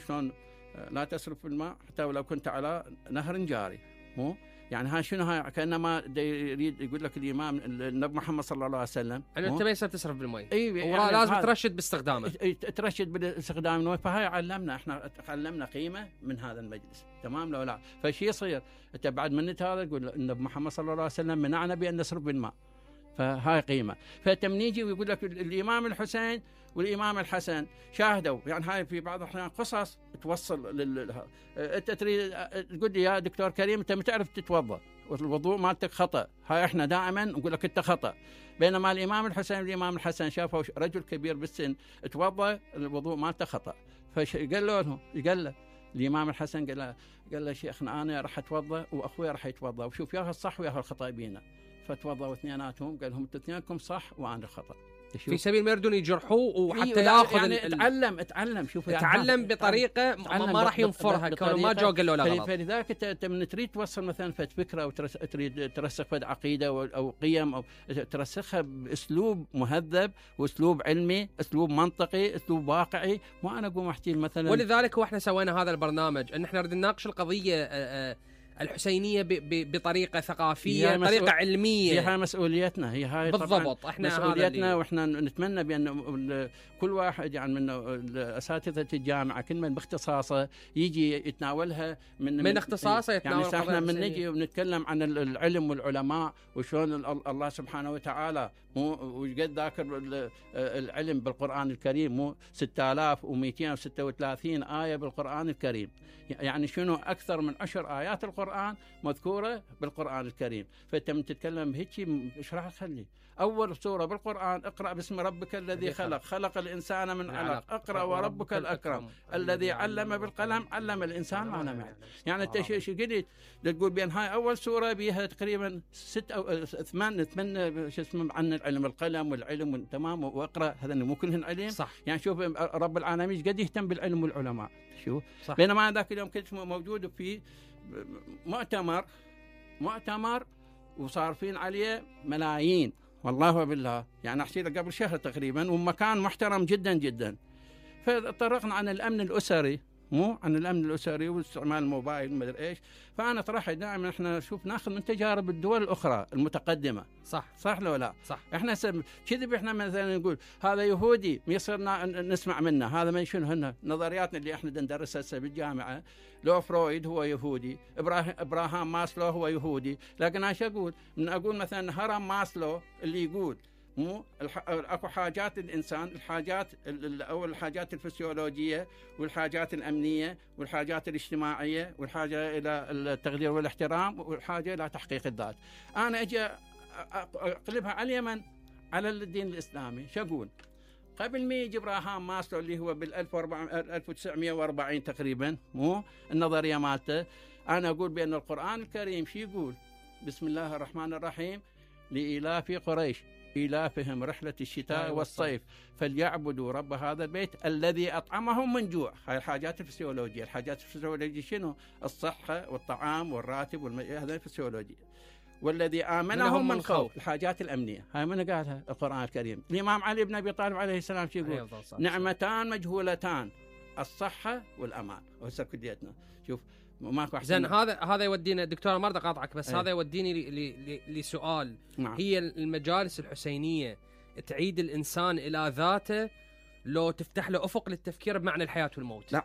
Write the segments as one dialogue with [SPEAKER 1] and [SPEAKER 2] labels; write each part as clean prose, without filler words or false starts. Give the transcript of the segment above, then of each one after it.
[SPEAKER 1] شلون لا تسرف في الماء حتى ولو كنت على نهر جاري. مو يعني هاي شنو؟ هاي كانما يريد يقول لك الامام النبي محمد صلى الله عليه وسلم
[SPEAKER 2] انه انت ما يصير تسرف بالمي،
[SPEAKER 1] يعني
[SPEAKER 2] لازم ترشد باستخدامه،
[SPEAKER 1] ترشد باستخدام المي. فهاي علمنا، احنا علمنا قيمه من هذا المجلس، تمام لو لا؟ فشي يصير انت بعد منت هذا تقول النبي محمد صلى الله عليه وسلم منعنا بان نسرف بالماء، فهاي قيمه. فلما يجي ويقول لك الامام الحسين والامام الحسن شاهدوا، يعني هاي في بعض الاحيان قصص توصل انت تريد تقول لي يا دكتور كريم انت ما تعرف تتوضا والوضوء مالتك خطا، هاي احنا دائما نقول لك انت خطا. بينما الامام الحسين والامام الحسن شافوا رجل كبير بالسن توضا الوضوء مالته خطا، فقال له الامام الحسن قال له شيخنا انا راح اتوضا واخوي راح يتوضا وشوف ياهل الصح وياهل الخطا بينا. فتوضوا اثنيناتهم، قال لهم انتم اثنينكم صح وانا خطا،
[SPEAKER 2] في سبيل ما يردون يجرحوه وحتى ياخذ
[SPEAKER 1] يعني اتعلم شوف
[SPEAKER 2] اتعلم بطريقه ما راح ينفرها كونه ما جو قالوا له غلط.
[SPEAKER 1] فلذلك انت من تريد توصل مثلا فكره او تريد ترسخ فد عقيده او قيم او ترسخها باسلوب مهذب واسلوب علمي، اسلوب منطقي، اسلوب واقعي. مو انا اقوم احكي مثلا.
[SPEAKER 2] ولذلك واحنا سوينا هذا البرنامج ان احنا نريد نناقش القضيه الحسينيه بطريقه ثقافيه، طريقه علميه.
[SPEAKER 1] هي مسؤوليتنا، هي هاي
[SPEAKER 2] بالضبط احنا
[SPEAKER 1] مسؤوليتنا، واحنا نتمنى بان كل واحد يعني من اساتذه الجامعه كل من باختصاصه يجي يتناولها من
[SPEAKER 2] اختصاصه يتناول.
[SPEAKER 1] يعني احنا من نجي ونتكلم عن العلم والعلماء وشلون الله سبحانه وتعالى وقد ذاكر العلم بالقران الكريم، مو 6236 ايه بالقران الكريم. يعني شنو اكثر من 10 ايات القرآن مذكورة بالقرآن الكريم. فأنت من تتكلم هيك ايش راح تخلي؟ أول سورة بالقرآن اقرأ باسم ربك الذي خلق الإنسان من علق، اقرأ وربك الأكرم الذي علم بالقلم علم الإنسان ما لم يعلم. يعني أنت شو قلت تقول بين هاي أول سورة بيها تقريبا 6 أو 8 شو اسمه عن العلم، القلم والعلم تمام، واقرأ هذا مو كلهن علم
[SPEAKER 2] صح.
[SPEAKER 1] يعني شوف رب العالمين قد يهتم بالعلم والعلماء شو صح. بينما ذاك اليوم كنت موجود في مؤتمر وصارفين عليه ملايين والله بالله، يعني احكي لك قبل شهر تقريبا، ومكان محترم جدا جدا. فطرقنا عن الامن الاسري، مو عن الامن الاسري واستعمال الموبايل ما ادري ايش. فانا طرحت دائما احنا شوف ناخذ من تجارب الدول الاخرى المتقدمه، صح لو لا؟
[SPEAKER 2] صح.
[SPEAKER 1] احنا كذب، احنا مثلا نقول هذا يهودي يصير نسمع منه، هذا ما شنو هن نظرياتنا اللي احنا ندرسها هسه بالجامعه. لو فرويد هو يهودي، ابراهام ماسلو هو يهودي، لكن انا شو اقول؟ اقول مثلا هرم ماسلو اللي يقول مو اكو حاجات الانسان، الحاجات او الحاجات الفسيولوجيه والحاجات الامنيه والحاجات الاجتماعيه والحاجه الى التقدير والاحترام والحاجه الى تحقيق الذات. انا اجي اقلبها على اليمن على الدين الاسلامي. شو اقول؟ قبل ما يجي ابراهام ماسلو اللي هو بال 1940 تقريبا، مو النظريه مالته، انا اقول بان القران الكريم شو يقول؟ بسم الله الرحمن الرحيم لإلاف قريش إيلافهم رحلة الشتاء والصيف فليعبدوا رب هذا البيت الذي أطعمهم من جوع. هاي الحاجات الفسيولوجية. الحاجات الفسيولوجية شنو؟ الصحة والطعام والراتب هذا الفسيولوجية. والذي آمنهم من خوف. الحاجات الأمنية هاي من قالها القرآن الكريم. الإمام علي بن أبي طالب عليه السلام شو يقول؟ نعمتان مجهولتان الصحة والأمان. وهسه كليتنا شوف ماكو احسن.
[SPEAKER 2] زين هذا يودينا دكتور، ما اريد اقاطعك بس هذا يوديني لسؤال. هي المجالس الحسينيه تعيد الانسان الى ذاته لو تفتح له افق للتفكير بمعنى الحياه والموت؟
[SPEAKER 1] لا،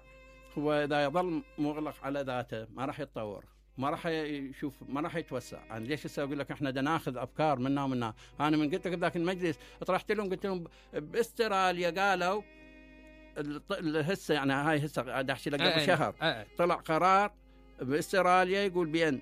[SPEAKER 1] هو اذا يظل مغلق على ذاته ما راح يتطور، ما راح يشوف، ما راح يتوسع. يعني ليش هسه اقول لك احنا ناخذ افكار منا ومنا. انا من قلت لك ذاك المجلس طرحت لهم قلت لهم باستراليا قالوا هسه، يعني هاي هسه قاعد احكي لك قبل شهر طلع قرار باستراليا يقول بان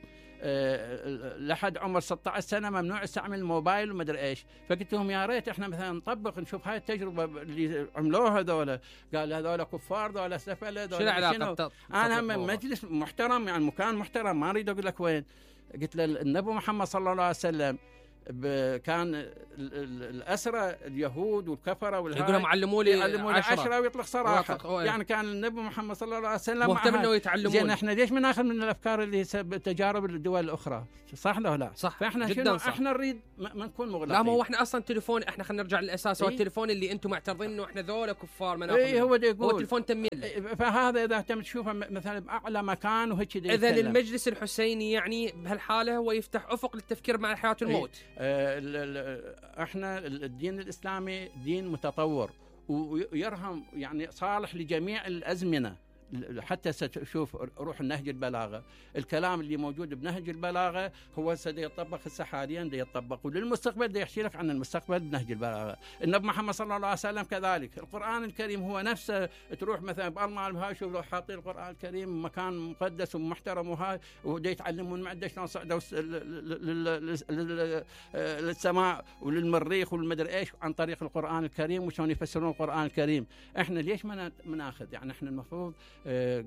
[SPEAKER 1] لحد عمر 16 سنه ممنوع يستعمل الموبايل وما ادري ايش. فقلت لهم يا ريت احنا مثلا نطبق نشوف هاي التجربه اللي عملوها هذول. قال هذول كفار، ذول سفله، ذول
[SPEAKER 2] شنو علاقه؟
[SPEAKER 1] انا من مجلس محترم، يعني مكان محترم، ما اريد اقول لك وين. قلت له النبي محمد صلى الله عليه وسلم كان الأسرة اليهود والكفرة
[SPEAKER 2] يقولون علموا لي
[SPEAKER 1] 10 ويطلق صراحة. يعني كان النبي محمد صلى الله عليه وسلم
[SPEAKER 2] مهتم انه يتعلمون.
[SPEAKER 1] زين احنا ليش ما ناخذ من الافكار اللي تجارب الدول الاخرى؟ صح ولا لا؟
[SPEAKER 2] صح.
[SPEAKER 1] فاحنا شنو صح. احنا نريد ما نكون مغلقين.
[SPEAKER 2] لا ما هو احنا اصلا تليفون، احنا خلينا نرجع للاساس. هو التليفون اللي انتم معترضين انه احنا ذولا كفار ما ناخذ.
[SPEAKER 1] هو
[SPEAKER 2] تليفون تمويل.
[SPEAKER 1] فهذا اذا تم تشوفه مثلا باعلى مكان وهيك
[SPEAKER 2] اذا المجلس الحسيني يعني بهالحاله هو يفتح افق للتفكير مع الحياه والموت.
[SPEAKER 1] احنا الدين الاسلامي دين متطور ويرهم يعني صالح لجميع الازمنه. حتى ستشوف روح النهج البلاغه، الكلام اللي موجود بنهج البلاغه هو سيطبق هسه حاليا يطبق، وللمستقبل يحكي لك عن المستقبل بنهج البلاغه. النبي محمد صلى الله عليه وسلم كذلك، القران الكريم هو نفسه. تروح مثلا بالمان هاي شوف لو حاطين القران الكريم مكان مقدس ومحترم وهاي ودي يتعلمون معده شلون صعدوا للسماء وللمريخ والمدري ايش عن طريق القران الكريم وشلون يفسرون القران الكريم. احنا ليش ما ناخذ؟ يعني احنا المفروض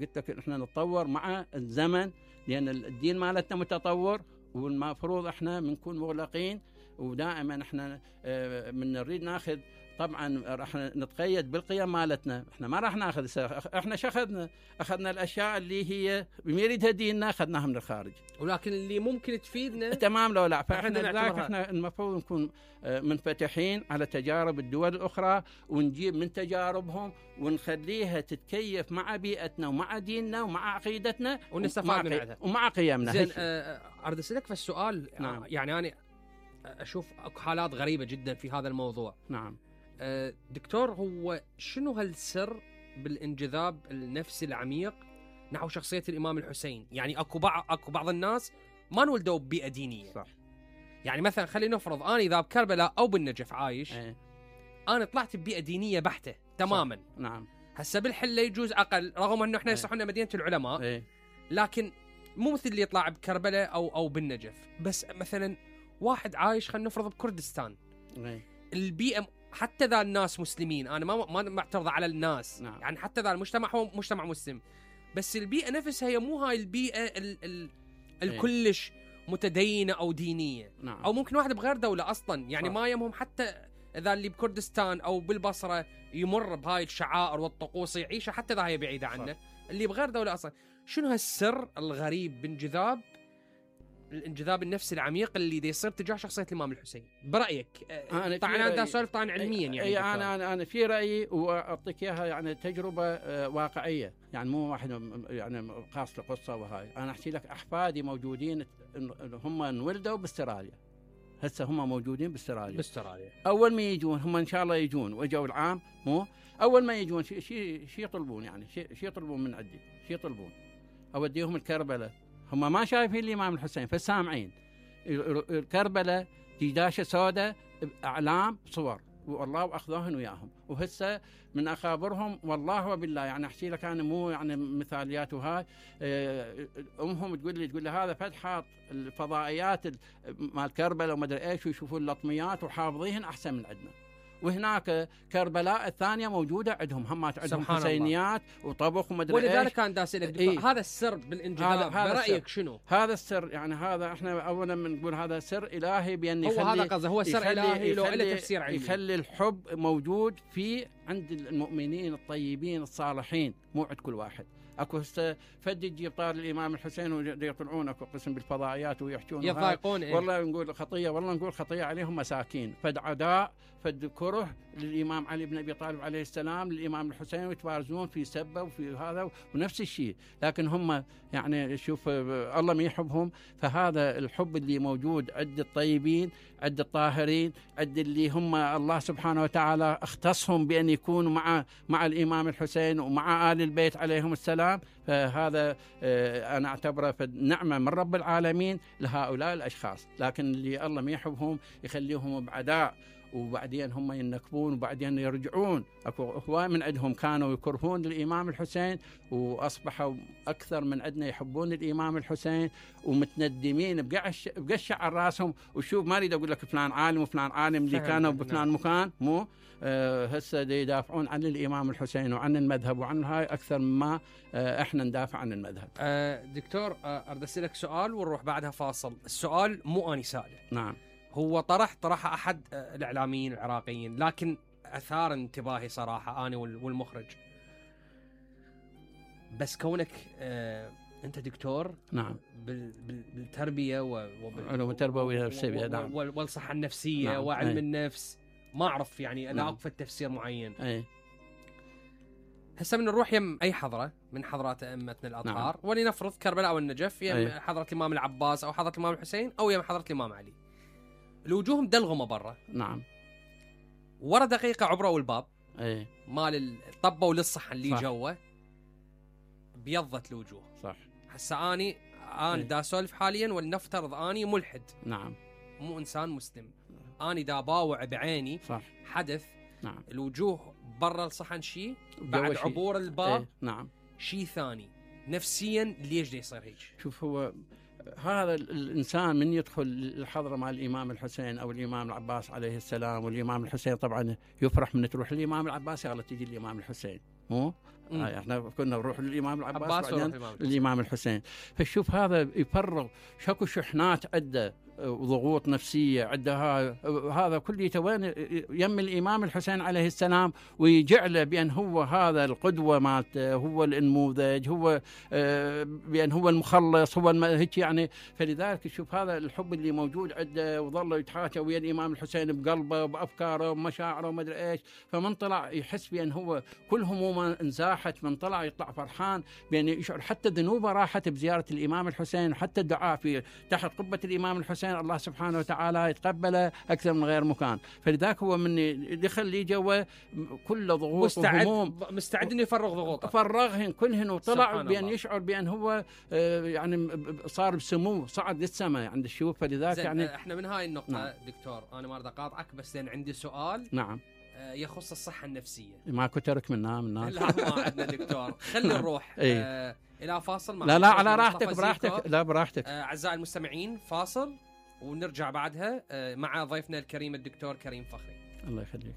[SPEAKER 1] قلت لك احنا نتطور مع الزمن، لان الدين مالتنا متطور، والمفروض احنا بنكون مغلقين. ودائما احنا من نريد ناخذ، طبعا راح نتقيد بالقيم مالتنا. احنا ما راح ناخذ، احنا اخذنا الاشياء اللي هي بيريدها ديننا اخذناها من الخارج،
[SPEAKER 2] ولكن اللي ممكن تفيدنا
[SPEAKER 1] تمام لو لا. فاحنا احنا المفروض نكون منفتحين على تجارب الدول الاخرى، ونجيب من تجاربهم ونخليها تتكيف مع بيئتنا ومع ديننا ومع عقيدتنا
[SPEAKER 2] ونستفاد منها
[SPEAKER 1] ومع قيمنا.
[SPEAKER 2] زين اريد اسالك في السؤال. نعم. يعني انا اشوف اكو حالات غريبه جدا في هذا الموضوع.
[SPEAKER 1] نعم
[SPEAKER 2] دكتور، هو شنو هالسر بالانجذاب النفسي العميق نحو شخصيه الامام الحسين؟ يعني اكو بعض الناس ما انولدوا ببيئه دينيه.
[SPEAKER 1] صح.
[SPEAKER 2] يعني مثلا خلينا نفرض انا اذا بكربلاء او بالنجف عايش، انا طلعت ببيئه دينيه بحته تماما.
[SPEAKER 1] صح. نعم.
[SPEAKER 2] هسه بالحله يجوز اقل، رغم انه احنا يصحوا لنا مدينه العلماء، لكن مو مثل اللي يطلع بكربلاء او بالنجف. بس مثلا واحد عايش خلينا نفرض بكردستان، البيئه حتى ذا الناس مسلمين، انا ما معترض على الناس.
[SPEAKER 1] نعم.
[SPEAKER 2] يعني حتى ذا المجتمع هو مجتمع مسلم، بس البيئه نفسها هي مو هاي البيئه الكلش متدينه او دينيه.
[SPEAKER 1] نعم.
[SPEAKER 2] او ممكن واحد بغير دوله اصلا، يعني ما يمهم حتى اذا اللي بكردستان او بالبصره يمر بهاي الشعائر والطقوس يعيشها، حتى ذا هي بعيده عنه. اللي بغير دوله اصلا. شنو هالسر الغريب الانجذاب النفسي العميق اللي دي يصير تجاه شخصيه الامام الحسين برايك؟ طبعا انا سؤال طبعا علميا. يعني
[SPEAKER 1] انا في رايي واعطيك اياها، يعني تجربه واقعيه، يعني مو واحد يعني خاص لقصه وهاي. انا احكي لك احفادي موجودين، هم انولدوا باستراليا، هسه هم موجودين باستراليا. اول ما يجون هم ان شاء الله يجون، واجوا العام مو اول ما يجون شيء يطلبون، يعني شيء يطلبون من عندي، شيء يطلبون اوديهم الكربلاء. هم ما شايفين الامام الحسين فسامعين الكربلاء ديداشه سوداء اعلام صور، والله واخذوهن وياهم. وهسه من اخابرهم والله وبالله، يعني احكي لك انا مو يعني مثاليات وهاي، امهم تقول لي هذا فتحات الفضائيات مال كربلاء وما ادري ايش، ويشوفون اللطميات وحافظيهن احسن من عندنا. وهناك كربلاء الثانيه موجوده عندهم، همات عندهم حسينيات وطبخ وما ادري ايش.
[SPEAKER 2] ولذلك كان دا اسالك هذا السر بالانجذاب برايك شنو؟
[SPEAKER 1] هذا السر، يعني هذا احنا اولا بنقول هذا سر الهي، بان
[SPEAKER 2] هو هذا قصده، هو سر الهي له تفسير علمي،
[SPEAKER 1] يخلي الحب موجود في عند المؤمنين الطيبين الصالحين، مو عند كل واحد. اكو هسه فد يجيب طار الامام الحسين ويطلعون اكو قسم بالفضائيات ويحجون
[SPEAKER 2] يضايقون
[SPEAKER 1] والله نقول خطيه، والله نقول خطيه عليهم مساكين، فد عداء فد كره للامام علي بن ابي طالب عليه السلام، للامام الحسين، ويتبارزون في سبه وفي هذا ونفس الشيء. لكن هم يعني شوف الله ما يحبهم. فهذا الحب اللي موجود عند الطيبين، عند الطاهرين، عند اللي هم الله سبحانه وتعالى اختصهم بان يكونوا مع الامام الحسين ومع ال البيت عليهم السلام. فهذا انا اعتبره نعمه من رب العالمين لهؤلاء الاشخاص. لكن اللي الله ما يحبهم يخليهم بعداء، وبعدين هم ينكبون وبعدين يرجعون. اكو هواي من عندهم كانوا يكرهون الامام الحسين، واصبحوا اكثر من عندنا يحبون الامام الحسين، ومتندمين بقشع على راسهم. وشوف ما اريد اقول لك فلان عالم وفلان عالم اللي كانوا بفلان مكان، مو هسه يدافعون عن الامام الحسين وعن المذهب وعن هاي اكثر مما احنا ندافع عن المذهب.
[SPEAKER 2] دكتور اريد اسالك سؤال ونروح بعدها فاصل. السؤال مو اني سائله.
[SPEAKER 1] نعم.
[SPEAKER 2] هو طرحها احد الاعلاميين العراقيين، لكن اثار انتباهي صراحه انا والمخرج. بس كونك انت دكتور
[SPEAKER 1] نعم
[SPEAKER 2] بالتربيه
[SPEAKER 1] علوم التربويه والنفسيه نعم
[SPEAKER 2] والصحه النفسيه
[SPEAKER 1] نعم.
[SPEAKER 2] وعلم النفس، ما اعرف يعني انا اقف تفسير معين. هسه من نروح يم اي حضره من حضرات ائمتنا الاطهار، ولنفرض كربلاء والنجف، يم حضره الامام العباس او حضره الامام الحسين او يم حضره الامام علي، الوجوه مدلغمه برا
[SPEAKER 1] نعم،
[SPEAKER 2] ورا دقيقه عبروا الباب مال طبوا للصحن اللي جوا بيضت الوجوه.
[SPEAKER 1] صح.
[SPEAKER 2] هسه انا دا اسولف حاليا، ولنفترض اني ملحد،
[SPEAKER 1] نعم،
[SPEAKER 2] مو انسان مسلم، اني دا باوع بعيني
[SPEAKER 1] صح
[SPEAKER 2] حدث،
[SPEAKER 1] نعم،
[SPEAKER 2] الوجوه برا الصحن شيء، بعد عبور الباب
[SPEAKER 1] نعم
[SPEAKER 2] شيء ثاني. نفسيا ليش دا يصير هيك؟
[SPEAKER 1] شوف، هو هذا الانسان من يدخل الحضره مع الامام الحسين او الامام العباس عليه السلام، والامام الحسين طبعا يفرح من تروح الامام العباس يلا تجي الامام الحسين، مو احنا كنا نروح للامام العباس وبعدين الامام الحسين. فشوف هذا يفرغ شكو شحنات عده وضغوط نفسيه عده، هذا كله وين يم الامام الحسين عليه السلام، ويجعله بان هو هذا القدوه مالته، هو النموذج، هو بان هو المخلص، هو هيك يعني. فلذلك شوف هذا الحب اللي موجود عنده، وظل يتحاشى ويا الامام الحسين بقلبه وبافكاره ومشاعره وما ادري ايش. فمن طلع يحس بان هو كل همومه انزاحت، من طلع يطلع فرحان بان يشعر حتى ذنوبه راحت بزياره الامام الحسين، وحتى الدعاء في تحت قبه الامام الحسين الله سبحانه وتعالى يتقبله اكثر من غير مكان. فلذلك هو من دخل لي جوا كل ضغوط وهموم،
[SPEAKER 2] مستعد انه يفرغ ضغوطه،
[SPEAKER 1] فرغهن كلهن، وطلع بان يشعر بان هو يعني صار بسمو، صعد للسماء عند الشيوخ. فلذلك يعني
[SPEAKER 2] احنا من هاي النقطه
[SPEAKER 1] نعم.
[SPEAKER 2] دكتور انا ما اريد اقاطعك، بس لان عندي سؤال
[SPEAKER 1] نعم
[SPEAKER 2] يخص الصحه النفسيه.
[SPEAKER 1] ماكو ترك منها
[SPEAKER 2] لا ما عندنا دكتور. خلينا نروح الى فاصل.
[SPEAKER 1] لا على راحتك براحتك، لا براحتك.
[SPEAKER 2] اعزائي المستمعين فاصل ونرجع بعدها مع ضيفنا الكريم الدكتور كريم فخري.
[SPEAKER 1] الله يخليك.